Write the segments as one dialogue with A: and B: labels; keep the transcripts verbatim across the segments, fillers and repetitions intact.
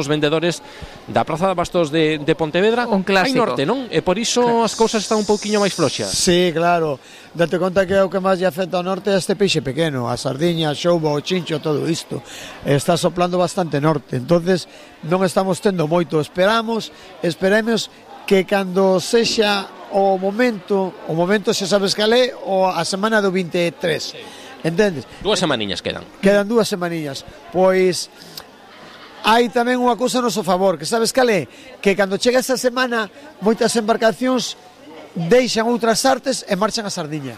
A: os vendedores da Praza de Bastos de, de Pontevedra.
B: Un clásico.
A: Hai norte, non? E por iso as cousas están un pouquiño máis floxas.
C: Sí, claro. Date conta que o que máis lle afecta ao norte é este peixe pequeno, a sardiña, a xouba, o chincho, todo isto. Está soplando bastante norte, entonces non estamos tendo moito. Esperamos, esperemos que cando sexa o momento, o momento xa sabes que é, o a semana do vinte e tres. Entendes?
A: Dúas semaniñas quedan.
C: Quedan dúas semaniñas. Pois hai tamén unha cousa a noso favor, que sabes cal é? Que cando chega esa semana, moitas embarcacións deixan outras artes e marchan a sardiña.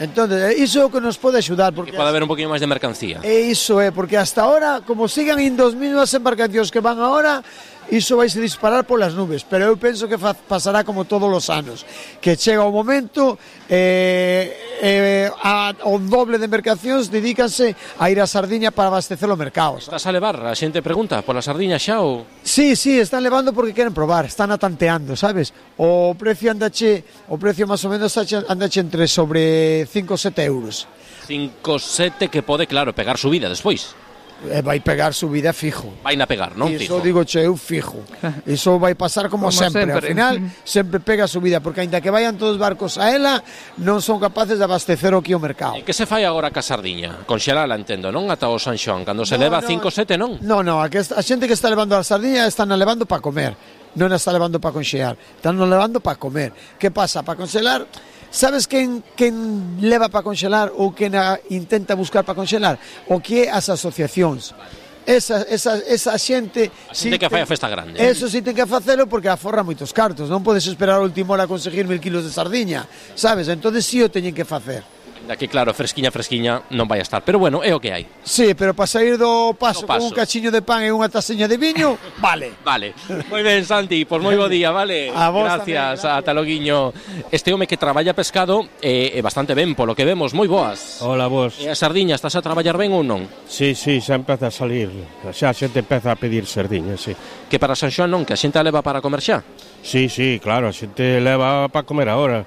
C: Entón, iso é o que nos pode axudar, porque
A: que pode haber un poquinho máis de mercancía.
C: E iso é, porque hasta ahora, como sigan indo as mesmas embarcacións que van agora, iso vai se disparar polas nubes, pero eu penso que fa, pasará como todos os anos, que chega o momento eh, eh, a, o doble de embarcacións dedícanse a ir a Sardiña para abastecer o mercado.
A: Estás a levar, a xente pregunta, pola sardiña xa ou...
C: Sí, sí, están levando porque queren probar, están atanteando, sabes? O precio andache, o precio máis ou menos andache entre sobre cinco ou sete euros.
A: cinco sete que pode, claro, pegar subida despois.
C: E vai pegar subida fijo.
A: Vai na pegar, non?
C: Iso
A: Fijo.
C: digo che, eu fijo. Iso vai pasar como,
B: Como
C: sempre.
B: sempre.
C: Ao final, sempre pega subida, porque aínda que vayan todos os barcos a ela, non son capaces de abastecer o que o mercado.
A: E que se fai agora ca sardiña? Conxelala, entendo, non? Ata o San Xoán, cando se
C: No,
A: leva
C: no.
A: cinco sete, non?
C: No, no, a, que a xente que está levando a sardiña están a levando para comer, non a está levando para conxear, están a levando para comer. Que pasa? Para conxelar, sabes quen, quen leva para conxelar ou quen a, intenta buscar para conxelar? O que é as asociacións. Esa, esa, esa xente
A: A xente que fai a festa grande.
C: Eso sí ten que facelo porque aforra moitos cartos. Non podes esperar a última hora a conseguir mil kilos de sardiña, sabes? Entonces sí o teñen que facer.
A: Da que claro, fresquiña, fresquiña non vai a estar, pero bueno, é o que hai.
C: Sí, pero para sair do paso,
A: Do paso.
C: con un cachiño de pan e unha taseña de viño, vale.
A: Vale. Moi ben, Santi, pois moi bo día, vale?
C: A vos
A: gracias,
C: tamén, gracias.
A: ata loguiño. Este home que traballa pescado é eh, bastante ben, polo que vemos, moi boas.
D: Hola, vos.
A: E a sardiña, estás a traballar ben ou non?
D: Sí, sí, xa empeza a salir. Xa a xente empeza a pedir sardiñas, sí.
A: Que para San Xoán non, que a xente a leva para comer xa?
D: Sí, sí, claro, a xente leva para comer agora.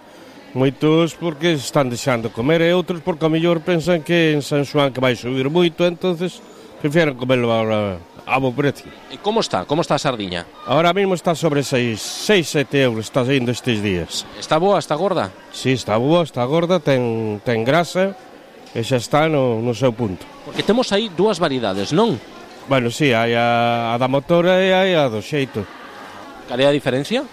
D: Moitos porque están deixando comer e outros porque a mellor pensan que en San Xoán que vai subir moito, entonces prefieren comerlo agora a bo precio.
A: E como está? Como está a sardiña?
D: Ahora mesmo está sobre seis, sete euros, está saindo estes días.
A: Está boa, está gorda?
D: Sí, está boa, está gorda, ten, ten grasa e xa está no, no seu punto.
A: Porque temos aí dúas variedades, non?
D: Bueno, sí, hai a, a da motora e hai a do xeito.
A: Cal é a diferencia?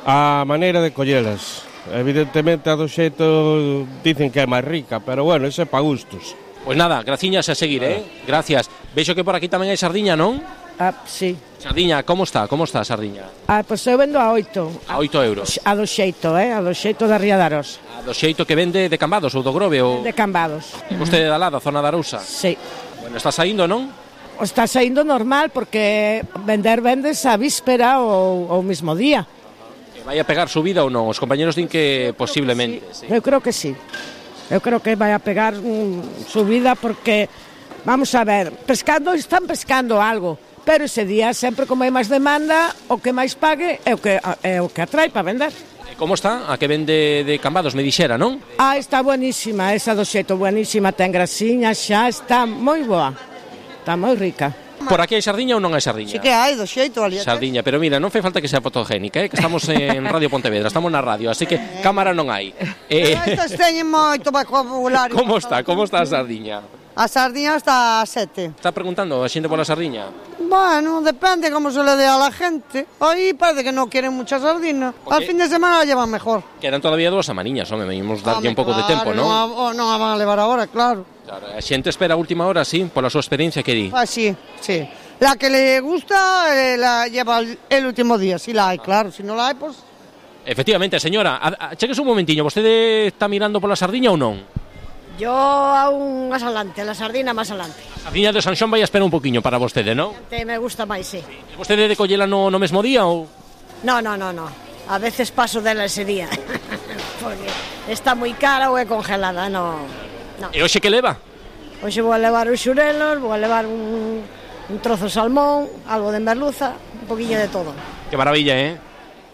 D: A maneira de collelas. Evidentemente a do xeito dicen que é máis rica, pero bueno, ese é pa gustos.
A: Pois nada, graciñas a seguir, eh? Gracias. Vexo que por aquí tamén hai sardiña, non?
E: Ah, sí.
A: Sardiña, como está? Como está a sardiña?
E: Ah, pois eu vendo a oito.
A: A oito euros.
E: A do xeito, eh? A do xeito da Ría de Aros.
A: A do xeito que vende de Cambados ou do Grove ou...
E: De Cambados.
A: Vostede da lá, da zona da Arousa?
E: Sí.
A: Bueno, está saindo, non?
E: Está saindo normal porque vender vendes a víspera ou o mismo día.
A: Que vai a pegar subida ou non? Os compañeros din que posiblemente.
E: Sí.
A: Sí.
E: Eu creo que sí. Eu creo que vai a pegar mm, subida porque, vamos a ver, pescando, están pescando algo, pero ese día, sempre como hai máis demanda, o que máis pague é o que, é o que atrai para vender.
A: E como está? A que vende de Cambados, me dixera, non?
E: Ah, está buenísima, esa do xeito buenísima, ten grasiña, xa está moi boa, está moi rica.
A: Por aquí hai sardiña ou non hai sardiña?
F: Sí que hai, do xeito, ali.
A: Sardiña, pero mira, non fai falta que sea fotogénica, eh? Que estamos en Radio Pontevedra, estamos na radio, así que cámara non hai. Eh,
F: Pero estes teñen moito vocabulario.
A: como está? Como está a sardiña?
F: A sardiña está a sete.
A: Está preguntando a xente pola sardiña?
F: Bueno, depende como se le dé a la gente. Aí parece que non queren mucha sardina. Al fin de semana la llevan mejor.
A: Quedan todavía dúas semaniñas, home, venimos darlle un pouco de tempo, non?
F: Non, non a van a levar agora, claro.
A: Claro, a xente espera a última hora, sí, pola súa experiencia que di.
F: Ah, sí, sí. La que le gusta eh, la lleva el, el último día, si la hay, claro. Si no la hay, pues...
A: Efectivamente, señora, a, a, cheques un momentiño, vostede está mirando pola sardiña ou non?
G: Yo aún más adelante, la sardina más adelante.
A: A sardiña de San Xoán vai a esperar un poquinho para vostede, non?
G: Te me gusta máis, sí.
A: E vostede de collela no, no mesmo día ou...?
G: No, no, no, no. A veces paso dela ese día. Porque está moi cara ou é congelada, no. no.
A: E hoxe que leva?
G: Hoxe vou a levar os xurelos, vou a levar un, un trozo de salmón, algo de merluza, un poquinho de todo.
A: Que maravilla, eh?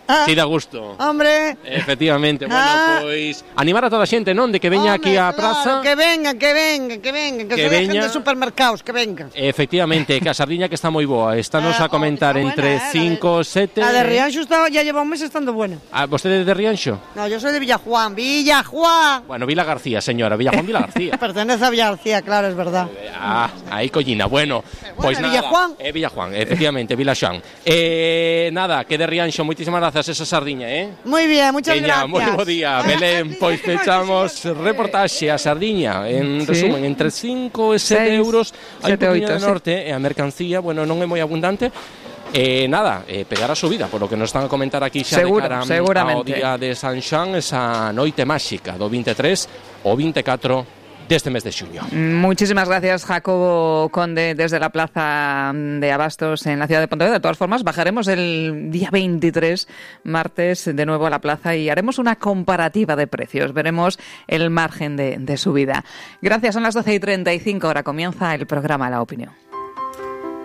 F: Ah.
A: Si dá gusto.
F: Hombre.
A: Efectivamente, bueno,
F: Ah.
A: pois animar a toda a xente, non, de que veña
F: Home,
A: aquí á
F: claro,
A: praza.
F: que vengan, que vengan, que vengan, que,
A: Que
F: se dejen
A: veña.
F: de supermercados, que vengan.
A: Efectivamente, que a sardiña que está moi boa. Estános
F: Ah,
A: a comentar
F: oh, está
A: entre
F: buena, eh,
A: cinco, sete.
F: La de Rianxo está, ya lleva un mes estando buena.
A: Ah, vostede de Rianxo?
F: No, yo soy de Villajuan. ¡Villajuan!
A: Bueno, Vila García, señora, Villajuan Vila García.
F: Pertenece a Villarcía, claro, es verdad.
A: Ah, aí collina. Bueno, pois
F: bueno,
A: nada.
F: Villajuan.
A: Eh, Villajuan, efectivamente, Vilaxán. Eh, nada, que de Rianxo, moitísimas grazas esa sardiña, eh?
F: Muy bien, muchas
A: Veña,
F: gracias.
A: moi bo día, Belén. Pois pechamos reportaxe a sardiña. En
B: Sí.
A: resumen, entre cinco e sete
B: Seis,
A: euros hai un
B: sete,
A: poquinho
B: oito,
A: de
B: sí.
A: norte e a mercancía, bueno, non é moi abundante. Eh, nada, eh, pegar a subida, por lo que nos están a comentar aquí xa
B: Seguro,
A: de cara
B: seguramente.
A: ao día de San Xoán, esa noite máxica do veintitrés o veinticuatro deste mes de xuño.
B: Muchísimas gracias, Jacobo Conde, desde la Plaza de Abastos en la ciudad de Pontevedra. De todas formas, bajaremos el día veintitrés, martes, de nuevo a la plaza y haremos una comparativa de precios. Veremos el margen de, de subida. Gracias, son las doce y treinta y cinco. Ahora comienza el programa La Opinión.